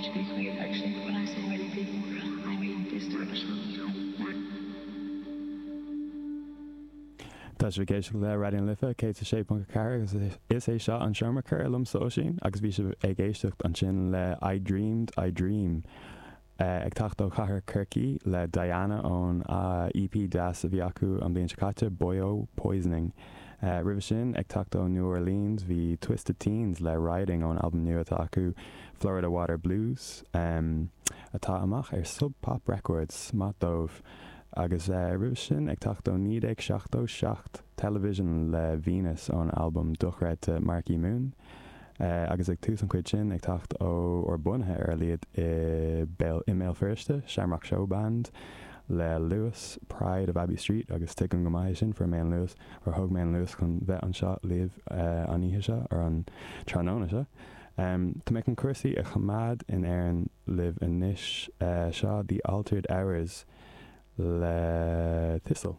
To be clear, actually, when I say many people, I mean this direction. Tá sibh ag éisteacht le Raidió na Life 106.4 agus is é seo an Seomra Comhrá liomsa Oisín agus bhí sibh ag éisteacht ansin le I Dreamed I Dream ag teacht ó chathair Chorcaí le Diana ón EP deas a bhí acu an bhliain seo caite, Boyo Poisoning. Roimhe sin, ag teacht ó New Orleans bhí Twisted Teens le Riding ón albam nua atá acu, Florida Water Blues, atá amach ar Sub Pop Records. Maith dóibh. Agus roimhe sin, ag teacht ó 1977, Television le Venus ón albam dochreidte Marquee Moon. Agus ag tús an chuid sin, ag teacht ó, or bunaithe ar a laghad i mBéal Feirste, Shamrock Showband le Luas, Pride of Abbey Street, agus tuigim go maith é sin, fuair mé an Luas, or thóg mé an Luas chun bheith anseo libh an oíche seo, or an tráthnóna seo. Tá mé chun cúrsaí a choimeád in Éirinn libh anois. Seo The Altered Hours le Thistle.